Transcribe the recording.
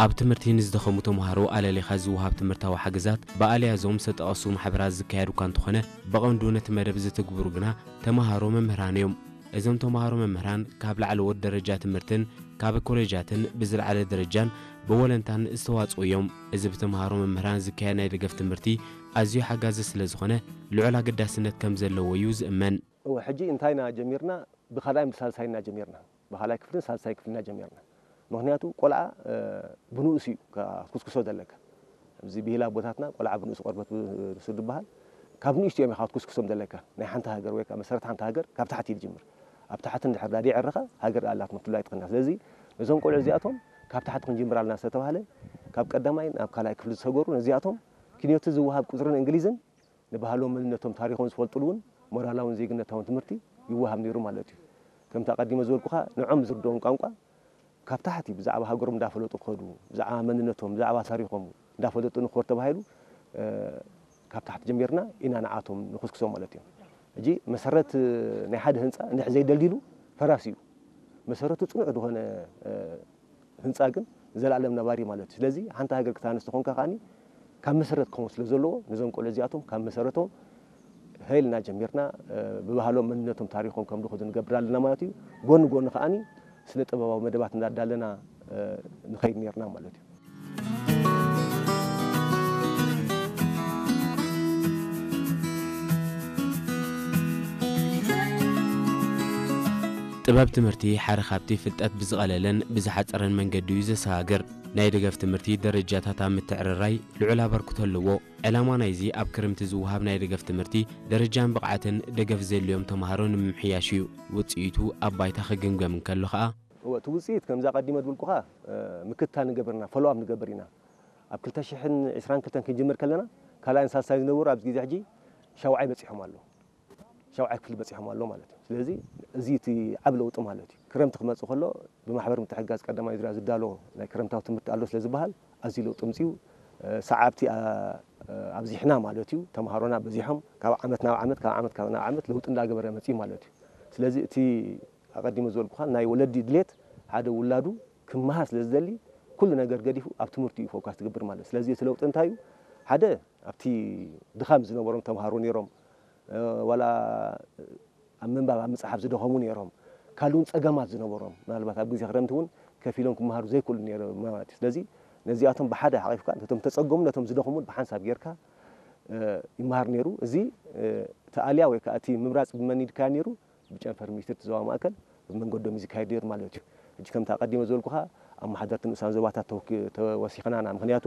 ኣብ ትምህርቲ ንዝደኸሙ ተምሃሮ ኣለሊኻ ዝወሃብ ትምህርታዊ ሓገዛት ብኣልያዞም ዝተጠቐሱ ማሕበራት ዝካየድ እኳ እንተኾነ፣ ብቐንዱ ነቲ መደብ ዝትግብሩ ግና ተምሃሮ መምህራን እዮም። እዞም ተምሃሮ መምህራን ካብ ላዕለዎት ደረጃ ትምህርትን ካብ ኮሌጃትን ብዝለዓለ ደረጃን ብወለንታን ዝተዋጽኡ እዮም። እዚ ብተምሃሮ መምህራን ዝካየድ ናይ ደገፍ ትምህርቲ ኣዝዩ ሓጋዚ ስለ ዝኾነ፣ ልዑል ኣገዳስነት ከም ዘለዎ እዩ ዝእመን። እወ፣ ሕጂ እንታይ ኢና ጀሚርና? ብኻልኣይን ብሳልሳይን ኢና ጀሚርና። ብኻልኣይ ክፍልን ሳልሳይ ክፍልን ኢና ጀሚርና። ምኽንያቱ ቆልዓ፣ እ፣ ብንኡስ እዩ ክትኩስኩሶ ዘለካ። ኣብዚ ብሂል ኣቦታትና ቆልዓ ብንኡስ ቆርበት ብ-፣ ብሱር ዝበሃል። ካብ ንእሽቶ እዮም ኢኻ ክትኩስኩሶም ዘለካ። ናይ ሓንቲ ሃገር ወይ ከዓ መሰረት ሓንቲ ሃገር ካብ ታሕቲ እዩ ዝጅምር። ኣብ ታሕቲ እንድሕር ዳዲዕ ዕርኻ ሃገር ኣላት ምትሉ ኣይትኽእልና። ስለዚ ነዞም ቆልዑ እዚኣቶም ካብ ታሕቲ ክንጅምር ኣለና ዝተባህለ፣ ካብ ቀዳማይ ናብ ካልኣይ ክፍሊ ዝሰገሩ ነዚኣቶም ኪንዮቲ ዝወሃብ ቁፅርን እንግሊዝን ንባህሎም፣ መንነቶም፣ ታሪኾም ዝፈልጡሉ እውን ሞራላውን ዜግነታውን ትምህርቲ ይወሃብ ነይሩ ማለት እዩ። ከምቲ ኣቐዲመ ዝበልኩኻ፣ ንዖም ዝርድኦም ቋንቋ ካብ ታሕቲ ብዛዕባ ሃገሮም እንዳፈለጡ ክኸዱ፣ ብዛዕባ መንነቶም፣ ብዛዕባ ታሪኾም እንዳፈለጡ ንኽኸዱ ተባሂሉ፣ እ፣ ካብ ታሕቲ ጀሚርና ኢና ንዓቶም ንኹስኩሶም ማለት እዩ። ሕጂ መሰረት ናይ ሓደ ህንፃ እንድሕር ዘይደልዲሉ ፈራሲ እዩ። መሰረቱ ፅኑዕ ዝኾነ፣ እ፣ ህንፃ ግን ዘላለም ነባሪ ማለት እዩ። ስለዚ ሓንቲ ሃገር ክታነስ ተኾንካ ከዓኒ ካብ መሰረት ክኸውን ስለ ዘለዎ፣ ነዞም ቆልዑ እዚኣቶም ካብ መሰረቶም ሀይልና ጀሚርና፣ እ፣ ብባህሎም መንነቶም ታሪኾም ከም ዝኸዱ ንገብር ኣለና ማለት እዩ። ጎኒ ጎኒ ከዓኒ ስነ ጥበባዊ መደባት እንዳዳለና፣ እ፣ ንኸይድ ነርና ማለት እዩ። ጥበብ ትምህርቲ ሓደ ካብቲ ፍልጠት ብዝቐለለን ብዝሓጸረን መንገዲ እዩ ዘሰጋግር። ናይ ደገፍ ትምህርቲ ደረጃታት ኣብ ምትዕርራይ ልዑል ኣበርክቶ ኣለዎ። ዕላማ ናይዚ ኣብ ክርምቲ ዝወሃብ ናይ ደገፍ ትምህርቲ ደረጃን ብቕዓትን ደገፍ ዘድልዮም ተምሃሮ ንምምሕያሽ እዩ። ውጽኢቱ ኣብ ባይታ ክግምገም እንከሎ ኸኣ፣ እወ፣ እቲ ውጽኢት ከምዛ ቀዲመ ድብልኩኻ፣ እ፣ ምክትታል ንገብር ኢና፣ ፎሎኣፕ ንገብር ኢና። ኣብ ክልተ ሽሕን ዕስራን ክልተን ክንጅምር ከለና ካልኣይን ሳልሳይን ዝነበሩ ኣብዚ ግዜ ሕጂ ሻውዓይ በጺሖም ኣለዉ። ሻውዓይ ክፍሊ በጺሖም ኣለዉ ማለት እዩ። ስለዚ እዚ እቲ ዓቢ ለውጢ ማለት እዩ። ክረምቲ ክመጽእ ከሎ ብማሕበር ምትሕግጋዝ ቀዳማይ ዙርያ ዝዳሎ ናይ ክረምታዊ ትምህርቲ ኣሎ ስለ ዝበሃል ኣዝዩ ለውጢ ኣምጺኡ፣ እ፣ ሰዓብቲ፣ እ፣ ኣብዚሕና ማለት እዩ። ተምሃሮና በዚሖም ካብ ዓመት ናብ ዓመት፣ ካብ ዓመት ካብ ናብ ዓመት ለውጢ እንዳገበረ መጺኡ ማለት እዩ። ስለዚ እቲ ኣቐዲመ ዝበልኩኻ ናይ ወለዲ ድሌት ሓደ ውላዱ ክመሃር ስለ ዝደሊ ኩሉ ነገር ገዲፉ ኣብ ትምህርቲ እዩ ፎካስ ትገብር ማለት እዩ። ስለዚ እቲ ለውጢ እንታይ እዩ? ሓደ ኣብቲ ድኻም ዝነበሮም ተምሃሮ ነይሮም፣ እ፣ ዋላ ኣብ ምንባብ ኣብ ምጽሓፍ ዝደኸሙ ነይሮም። ካልእ እውን ጸገማት ዝነበሮም ምናልባት ኣብ ግዜ ክረምቲ እውን ከፊሎም ክመሃሩ ዘይክእሉ ነይሮም ማለት እዩ። ስለዚ ነዚኣቶም ብሓደ ሓቒፍካ ነቶም ተጸገሙ ነቶም ዝደኸሙን ብሓንሳብ ጌርካ፣ እ፣ ይመሃር ነይሩ። እዚ፣ እ፣ እቲ ኣልያ ወይ ከዓ እቲ ምምራጽ ብመን ይካየድ ነይሩ? ብጨንፈር ሚኒስትሪ እቲ ዞባ ማእከል ብመንገዶም እዩ ዝካየድ ነይሩ ማለት እዩ። ሕጂ ከምቲ ኣቐዲመ ዝበልኩኻ ኣመሓደርቲ ንኡሳን ዞባታት ተወኪ-፣ ተወሲኽና ኢና። ምኽንያቱ